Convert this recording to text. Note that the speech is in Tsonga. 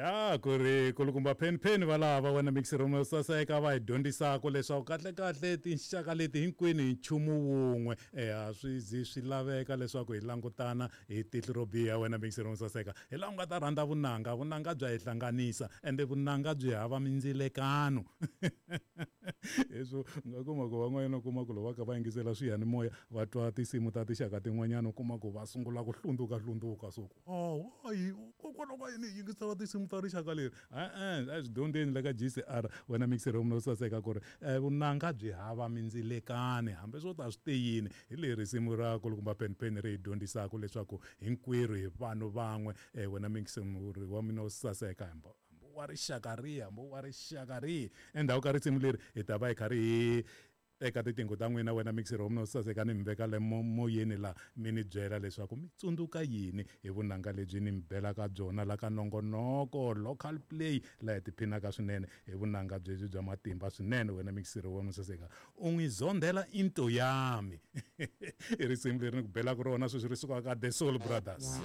Ya ku ri kulukumba phenpheni valava wena mixer saseka va hi dyondzisaka leswaku kahlekahle tinxaka leti hinkwenu hi nchumu wun'we. A swi zi swi laveka leswaku hi langutana hi tihlo ro biha wena mixer saseka. Hi laha u nga ta rhandza vunanga, vunanga bya hi hlanganisa ende vunanga byi hava mindzilekano. Leswo u nga kuma ku van'wanyana u kuma ku loko va kha va yingisela swiyanimoya va twa tinsimu ta tinxaka tin'wanyana u kuma ku va sungula ku hlundzuka hlundzuka so ku oh why kokwalaho ka yini hi yingisela tinsimu ta rixaka leri? E-e, a hi swi dyondzeni le ka GCR wena mixer wa mina wo saseka ku ri vunanga byi hava mindzilekani hambi swo ta swi te yini. Hi leri risimu ra kulukumba Penipeni ri hi dyondzisaka leswaku hinkwerhu hi vanhu van'we. Wena mixer wa mina wo saseka hambi wa rixaka rihi hambi wa rixaka rihi. Endzhaku ka risimu leri hi ta va hi karhi hi teka tiqingho ta n'wina wena mixer wa mina wo saseka ni mi veka le moyeni la mi ni byela leswaku mi tsundzuka yini hi vunanga lebyi ni mi belaka byona la ka nongonoko local play laha hi tiphinaka swinene hi vunanga byebyi bya matimba swinene. Wena mixer wa mina saseka u n'wi zondhela into yami i risimu leri ni ku belaka rona sweswi ri sukaka ka The Soul Brothers.